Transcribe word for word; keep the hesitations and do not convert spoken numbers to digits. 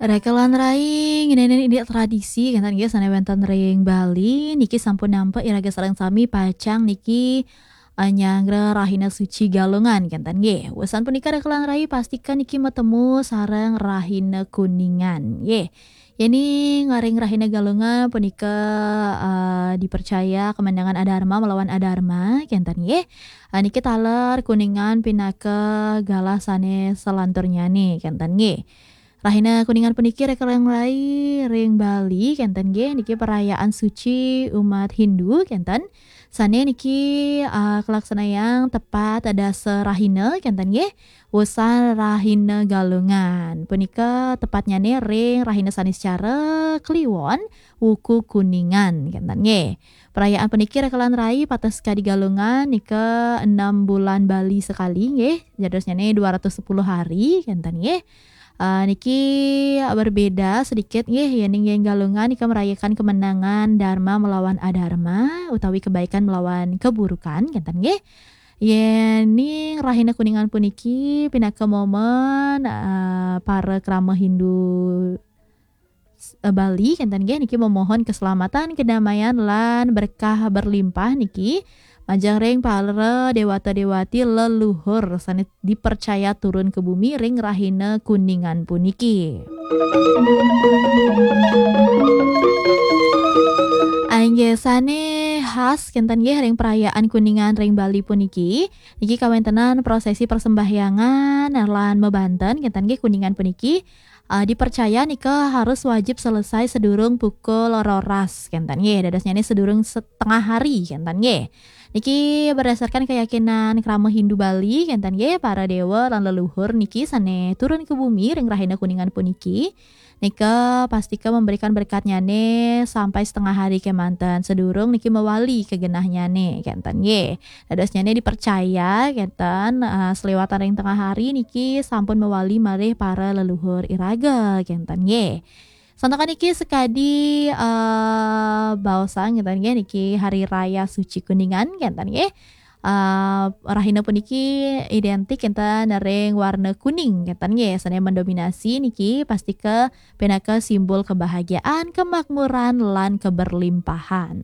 Raka lan rai, ngeninin ini tradisi, kenten nggih, sane wenten ring Bali, niki sampun nampak iraga sareng sami pacang niki, eh, nyanggra Rahina Suci Galungan, kenten nggih. Wusan punika raka lan rai, pastikan niki matemu sareng Rahina Kuningan, nggih. Yeni ngaring Rahina Galungan punika, eh, dipercaya kemenangan adarma melawan adarma, kenten nggih. Eh, niki taler Kuningan pinaka galah sane selanturnyane, kenten nggih. Rahina Kuningan puniki raka lan rai ring Bali, kenten nggih, niki perayaan suci umat Hindu, kenten. Sane niki, ah, kalaksanayang tepat dasa rahina, kenten nggih. Wusan Rahina Galungan. Punika tepatnyane ring Rahina Saniscara Kliwon, wuku Kuningan, kenten nggih. Perayaan puniki raka lan rai pateh sekadi Galungan nika enam bulan Bali sekali nggih. Jadosnyane dua ratus sepuluh hari, kenten nggih. Ah, niki berbeda sedikit nggih, yening ring Galungan nika merayakan kemenangan dharma melawan adharma utawi kebaikan melawan keburukan, kenten nggih. Yening Rahina Kuningan puniki pinaka momen, ah, para krama Hindu, eh, Bali, kenten nggih, niki memohon keselamatan, kedamaian, lan berkah berlimpah niki majeng ring para dewata dewati leluhur sane dipercaya turun ke bumi ring Rahina Kuningan puniki. Inggih, sane khas kenten nggih ring perayaan Kuningan ring Bali puniki, niki kawentenan prosesi persembahyangan lan mebanten, kenten nggih, Kuningan puniki, eh, dipercaya nika harus wajib selesai sedurung pukul roras, kenten nggih, dadosnyane sedurung setengah hari, kenten nggih. Niki berdasarkan keyakinan krama Hindu Bali, kenten nggih, para dewa lan leluhur niki sane turun ke bumi ring Rahina Kuningan puniki, nika pastika memberikan berkatnyane sampai setengah hari kemanten, sedurung niki mewali ke genahnyane, kenten nggih. Dadosnyane dipercaya, kenten, eh, selewatan ring tengah hari niki sampun mewali malih para leluhur iraga, kenten nggih. Santakan niki sekadi, eh, baosang, kenten nggih, niki Hari Raya Suci Kuningan, kenten nggih. Eh, rahina puniki identik kenten ring warna kuning, kenten nggih. Sane mendominasi niki pastika pinaka simbol kebahagiaan, kemakmuran, lan keberlimpahan.